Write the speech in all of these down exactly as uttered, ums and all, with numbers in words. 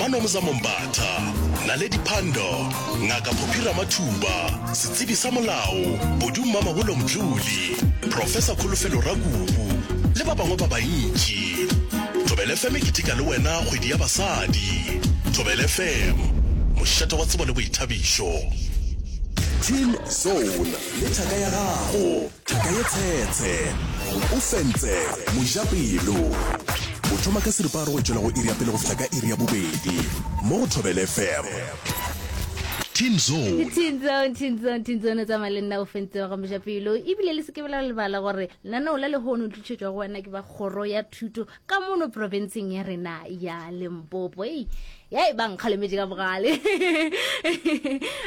Manomzamo Mbatha, Naledi Pandor, Ngaka Phophi Ramathuba, setsebi sa molao Bodu Mamabolo Mdluli, Professor Kholofelo Rakubu le ba bangwe ba bantši. Thobela F M e keteka le wena kgwedi ya basadi. Thobela F M, mošate wa tsebo le boithabišo. Teen Zone le thaka ya gago, thaka ye tshetshe, o fentse mojapelo. O thoma ka seripagare go tšwela go iri ya pele go fihla ka iri ya bobedi mo go Thobela F M. Teen Zone. Teen Zone, Teen Zone, Teen Zone, o tsamaya le nna o fentse wa ga mojapelo. Ebile le se ke la lebala gore lenaneo la lehono le tlišetšwa go wena ke ba kgoro ya thuto ka mono profenseng ya rena ya Limpopo. Ei, ya e ba nkgalemetše ka bogale.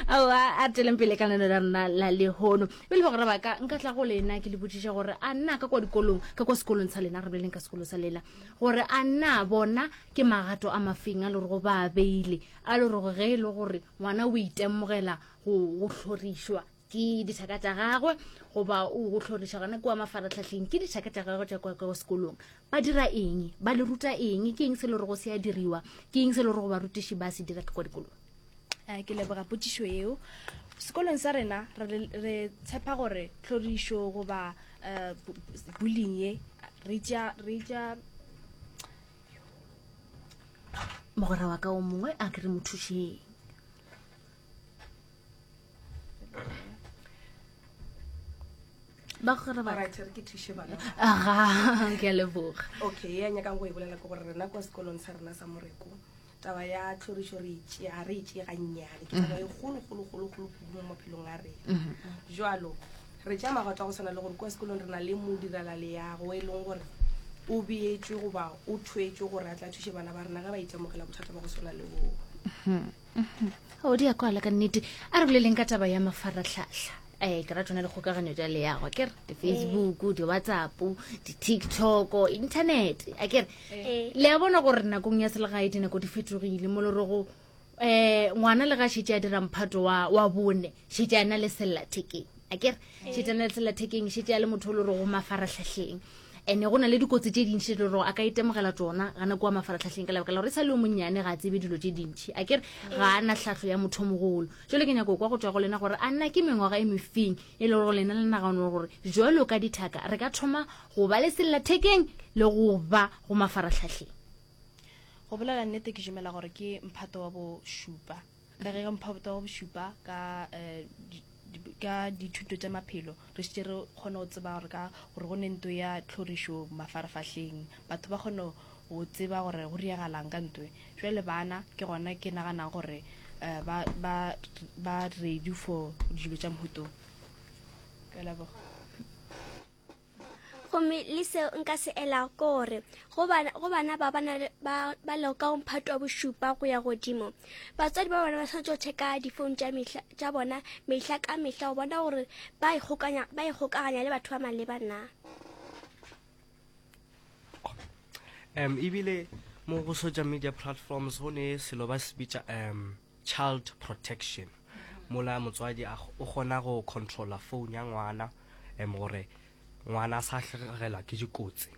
Aowa, a re tšweleng pele ka lenaneo la rena la lehono. Pele bagwera ba ka, nka tla go lena ke le botšiša gore a nna ka kwa dikolong, ka kwa sekolong sa lena, re boleleng ka sekolo sa lena, gore a nna bona ke magato a mafeng a le gore ba a beile, a le gore ge e le gore ngwana o itemogela go, go hlorišwa ke dithaka tša gagwe, goba o go hloriša gona kua mafaratlhahleng ke dithaka tša gagwe tša kwa kwa sekolong, ba dira eng, ba le ruta eng, ke eng se le gore go se a diriwa, ke eng se le gore barutiši ba se dira ka kwa dikolong? Eh, ke leboga potšišo eo. Sekolong sa rena re, re tshepa gore tlhorišo goba, eh, bu-, bullying ye re tšea, re tšea Mogwera wa ka o mongwe a ke re mo thušeng. Ba gore ba Alright, re ke thuše bana. Aga, ke a leboga. Okay, ya nyakang go e bolela ke gore rena kwa sekolong sa rena sa Moreko, taba ya tlhorišo re e tšea, ga re e tšee gannyane. Ke taba e kgolo, kgolo, kgolo, kgolo kudu mo maphelong a rena. Mm-hmm. Jwalo, re tšea magato a go swana le gore kwa sekolong re na le modirela leago e leng gore o beetšwe goba o thwetšwe gore a tla thuše bana ba rena ge ba itemogela bothata ba go swana le boo. Mm-hmm. O di a kwala ka nnete. A re boleleng ka taba ya mafaratlhatlha. Eh, ke ra tsona le kgokaganyo tša leago, a ke re di-Facebook, di-WhatsApp, di-TikTok, internet, a ke re. Eh. Le a bona gore nakong ya selegae dinako di fetogile mo le rego, eh, ngwana le ga šetše a dira mphato wa, wa bone, šetše a na le sellathekeng, a ke re. Eh. Šetše a na le sellathekeng, šetše a le motho o le rego mafaratlhahleng. Ene go na le dikotsi tše dintši tše le gore a ka itemogela tšona gana kua mafaratlhahleng ka lebaka la gore e sa le yo monnyane ga a tsebe dilo tše dintši, a ke re ga a na tlhahlo ya motho mogolo. Jwale ke nyako kwa go tšwa go lena gore a nna ke mengwaga e mefeng e le gore lena le nagana gore jwalo ka dithaka re ka thoma go ba le sellathekeng le go ba go mafaratlhahleng. Go bolela nnete ke dumela gore ke mphato wa bošupa. Ka ge mphato wa bošupa ka, eh, di-, di-, ka dithuto tša maphelo re šetše re kgone go tseba gore ka gore go ne ntho ya tlhorišo mafarafahleng, batho ba kgone go tseba gore go diragalang ka ntho e. Jwale bana ke gona ke naganang gore, eh, ba, ba, ba ready for dilo tša mohuto. Ke a leboga. Gomme le seo nka se elago ke gore go bana, go bana ba ba na le, ba, ba lego ka go mphato wa bošupa go ya godimo, batswadi ba bona ba swanetše go checka difounu tša mehla, tša bona mehla ka mehla go bona gore ba ikgokanya, ba ikgokaganya le batho ba maleba na. Um, ebile mo go social media platforms go ne selo ba se bitša, um, child protection. Mola motswadi a o kgona go controlla phone ya ngwana, um, gore ngwana a sa hlagelwa ke dikotsi.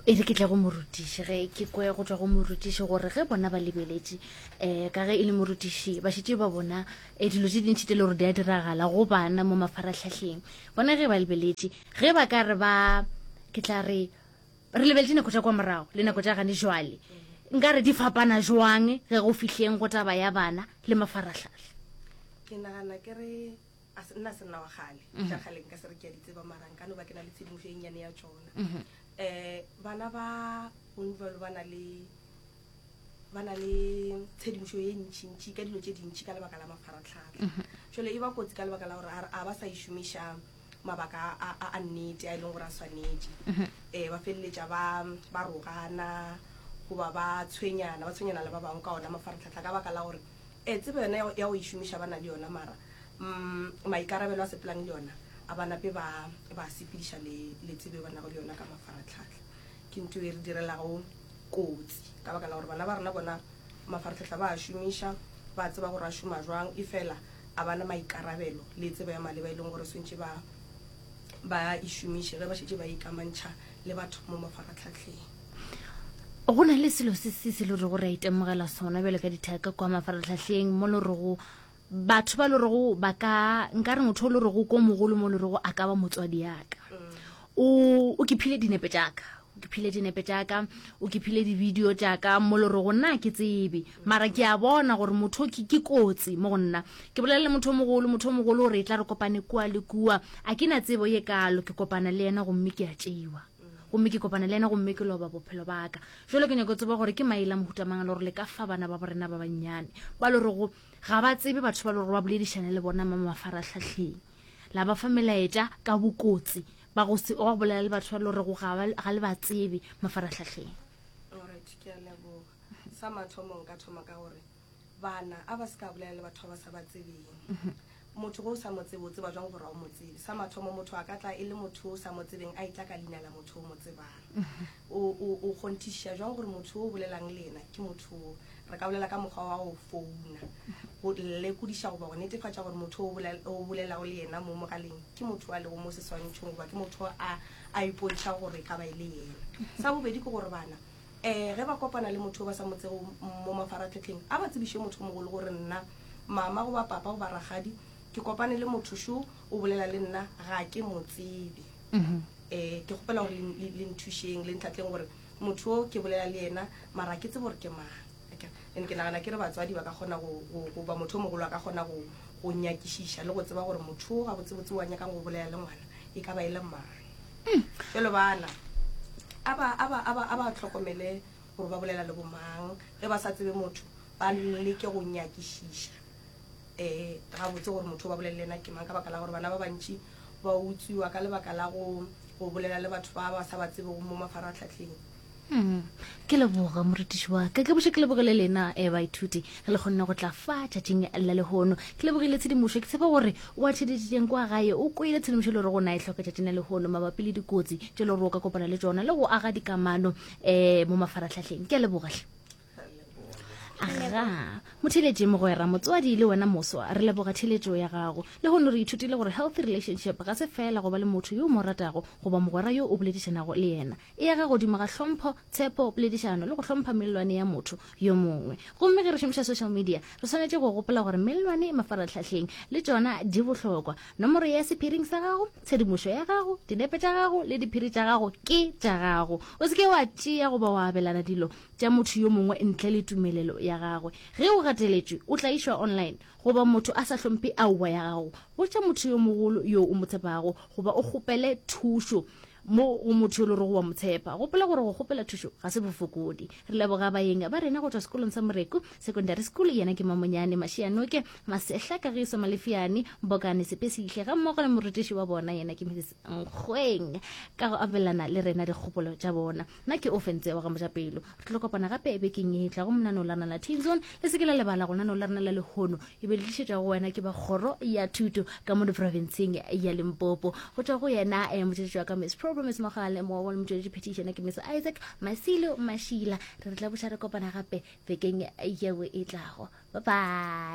E re ke tle go morutiši, ge ke kwe go tšwa go morutiši gore ge bona ba lebeletše, eh, ka ge e le morutiši ba šetše ba bona, eh, dilo tše dintši tše le gore di a diragala go bana mo mafaratlhahleng. Bona ge ba lebeletše, ge ba ka re ba, ke tla re, re lebeletše nako tša kwa morago le nako tša gane jwale, nka re di fapana jwang ge go fihleng go taba ya bana le mafaratlhatlha? Ke nagana ke re a se, nna se nna wa kgale. Mhm. Tša kgale nka se re ke a di tseba, mara nka no ba ke na le tshedimošo e nnyane ya tšona. Mhm. Eh, bana ba gongwe ba na le, ba na le tshedimošo ye ntšintši ka dilo tše dintši ka lebaka la mafaratlhatlha. Mhm. Jwale e ba kotsi ka lebaka la gore a, a ba sa e šomiša mabaka a, a, a nnete a e leng gore a swanetše. Mhm. Eh, ba feleletša ba, ba rogana goba ba tshwenyana, ba tshwenyana le ba bangwe ka ona mafaratlhatlha ka baka la gore, eh, tsebo yona ya go, ya go e šomiša ba na le yona, mara, mm, maikarabelo a sepelang le yona a ba nape ba, ba sepediša le, le tsebo e ba nago le yona ka mafaratlhatlha. Ke ntho e re direlago kotsi ka baka la gore bana ba rena bona mafaratlhatlha ba a šomiša, ba tseba gore a šoma jwang, e fela a bana maikarabelo le tsebo ya maleba e leng gore swantše ba, ba e šomiše ge ba šetše ba ikamantšha le batho mo mafaratlhatlheng. Go na le selo se se se le rego re a itemogela sona bjalo ka dithaka kwa mafaratlhahleng, mo le rego batho ba le rego ba ka, nka re motho o le rego ko mogolo mo le rego a ka ba motswadi yaka, o o ke phile dinepe tšaka, o ke phile dinepe tšaka, o ke phile di-video tšaka, mo le rego nna ke tsebe, mara ke a bona gore motho ke ke kotsi mo go nna. Ke bolela le motho o mogolo, motho o mogolo gore e tla re kopane kua le kua, a ke na tsebo ye kalo, ke kopana le yena gomme ke a tšeiwa, gomme ke kopana le yena gomme ke loba bophelo ba ka. Jalo ke nyako tseba gore ke maele a mohuta mang le gore le ka fa bana ba borena ba bannyane ba le rego ga ba tsebe batho ba le gore ba boledišane le bona mo mafaratlhahleng, la ba fa melaetša ka bokotsi ba go se wa go bolela le batho ba le rego ga ba ga le ba tsebe mafaratlhahleng. Alright, ke a leboga. Sa mathomo nka thoma ka gore bana a ba se ka bolela le batho ba ba sa ba tsebeng. Motho go o sa mo tsebe, o tseba jwang gore ga o mo tsebe? Sa mathomo, motho a ka tla e le motho o sa mo tsebeng, a itla ka leina la motho o mo tsebang. O o o kgonthišiša jwang gore motho o bolelang le yena ke motho o? Re ka bolela ka mokgwa wa go founa, go lekodiša goba go netefatša gore motho o bolel-, o bolelago le yena mo mogaleng ke motho a lego mo seswantšhong, goba ke motho a, a ipontšha gore e ka ba e le yena. Sa bobedi ke gore bana, um ge ba kopana le motho o ba sa mo tsego mo mafaratlhatlheng, a ba tsebiše motho o mogolo gore nna mama goba papa goba rakgadi ke kopane le motho šo o bolela le nna, ga ke mo tsebe. Um ke kgopela gore le, le, le nthušeng, le ntlhatleng gore motho o ke bolela le yena mara ke tsebe gore ke mang. And ke nagana ke re batswadi ba ka kgona go, go, goba motho o mogolo a ka kgona go, go nyakišiša le go tseba gore motho o gabotsebotse wa nyakang go bolela le ngwana e ka ba e le mang. Jalo bana a ba, a ba, a ba, a ba tlhokomele gore ba bolela le bomang. Ge ba sa tsebe motho, ba leke go nyakišiša um gabotse gore motho o ba bolele le yena ke mang, ka baka la gore bana ba bantši ba utswiwa ka lebaka la go, go bolela le batho ba ba sa ba tsebego mo mafaratlhatlheng. Mm. Ke leboga morutiši wa ka, ke boše ke lebogile lena um baithuti ge le kgonne go tla fa tšatšing la lehono. Ke lebogile tshedimošo, ke tshepa gore o a tšheditšeng kwa gae o kwele tshedimošo le gore go na e hloka tšatšing la lehono mabapi le dikotsi tše le gore o ka kopana le tšona le go aga dikamano um mo mafaratlhatlheng. Ke a leboga hle. Aga motheletše mogwera, motswadi le wena moswa, re leboga theletšo ya gago. Le gono re ithutile gore healthy relationship ga se fela go ba le motho yo o mo ratago goba mogwera yo o boledišanago le yena, e aga godimo ga hlompho, tshepo, poledišano le go hlompha mellwane ya motho yo mongwe. Gomme ge re šomiša social media re swanetše go gopola gore mellwane mafaratlhahleng le tšona di bohlokwa. Nomoro ya sephiring sa gago, tshedimošo ya gago, dinepe tša gago le diphiri tša gago ke tša gago. O se ke wa tšea goba wa abelana dilo tša motho yo mongwe ntle le tumelelo ya gagwe. Ge o gateletšwe, o tlaišwa online goba motho a sa hlomphe aowa ya gago, botša motho yo mogolo yo o mo tshepago goba o kgopele thušo mo go motho yo le rego wa mo tshepa. Gopola gore go kgopela thušo ga se bofokodi. Re leboga baeng ba rena go tšwa sekolong sa Moreku Secondary School, yena ke Mamonyane Mashianoke Masehla Kagiso Malefiane Mbokane Sepesihle, ga mmogo le morutiši wa bona yena ke Mrs Nkgweng, ka go abelana le rena dikgopolo tša bona. Nna ke Ofentse wa ga Mojapelo. Re tlo kopana gape bekeng e tlago monaneo la rena la Teen Zone. Le se ke la lebala go lenaneo la rena la lehono e be le tlišetšwa go wena ke ba kgoro ya thuto ka mo diprofenseng ya Limpopo. Go tšwa go yena eh, motšweletši wa ka Miss Pro Miss Mogale, mo wa motšweletši phetiši yena ke Miss Isaac Masilo Mashila. Re re tla buša re kopana gape bekeng yeo e tlago. Bye bye.